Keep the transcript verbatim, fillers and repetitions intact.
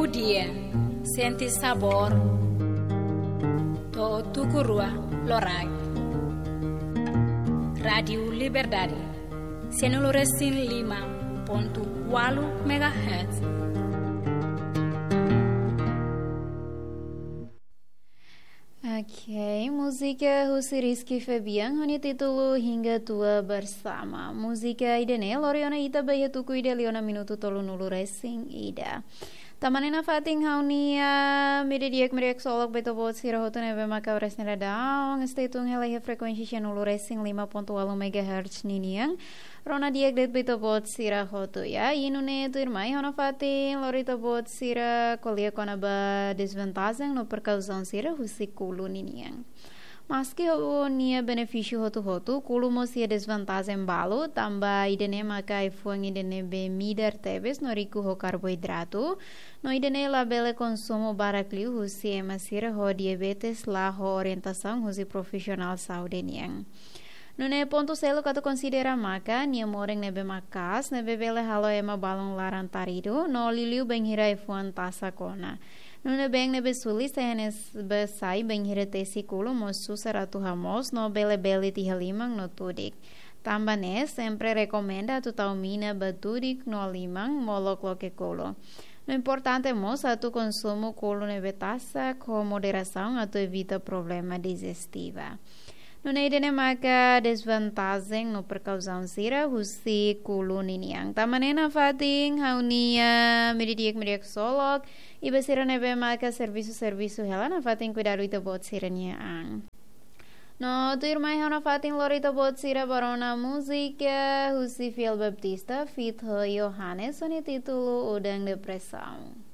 Dia, sente sabór. To'o tuku rua loraik. Rádiu Liberdade, sianulu resin lima pontu ualu megahertz. Oke, múzika husi Rizky Febian ho nia títulu Hingga Tua Bersama. Múzika ida-ne'e lori ona ita ba iha tuku ida liu ona minutu tolunulu resin ida. Tanba ne'e nafatin ha'u-nia media di'ak, media ksolok ba ita-boot sira hotu ne'ebé maka oras ne'e daudaun stay tune hela iha frekuénsia sianulu resin lima pontu ualu megahertz ninian. Rona di'ak de'it ba ita-boot sira hotu, ya. I nune'e tuirmai ha'u nafatin lori ita-boot sira ko'alia kona-ba dezvantajen no prekausaun sira husi kulu ninian. Maski ho nia benefísiu hotu-hotu, kulu mós iha dezvantajen balu, tanba ida-ne'e maka ai-fuan ida ne'ebé midar tebes no riku ho karboidratu, no ida-ne'e labele konsumu barak liu husi ema sira ho diabetes la ho orientasaun husi profisionál saúde nian. Nune'e pontu seluk atu konsidera maka nia moren ne'ebé maka'as, ne'ebé bele halo ema balun laran-taridu, no liuliu bainhira ai-fuan tasak ona. Nune'e been ne'ebé suli sai hanesan bee sai bainhira tesi kulu mós susar atu hamoos no bele belit iha liman no tudik. Tanba ne'e sempre rekomenda atu tau mina ba tudik no liman molok loke kulu. No importante mós atu konsumu kulu ne'ebé tasak ho moderasaun atu evita problema dijestiva. Nune'e ida-ne'e maka dezvantajen no prekausaun sira husi kulu ninian. Tanba ne'e nafatin ha'u-nia media di'ak, media ksolok, i ba sira ne'ebé maka servisu, servisu hela, nafatin kuidadu ita-boot sira-nia an. No tuirmai ha'u nafatin lori ita-boot sira ba rona múzika husi Fiel Baptista feat ho Yohanes ho nia títulu Udan Depresaun.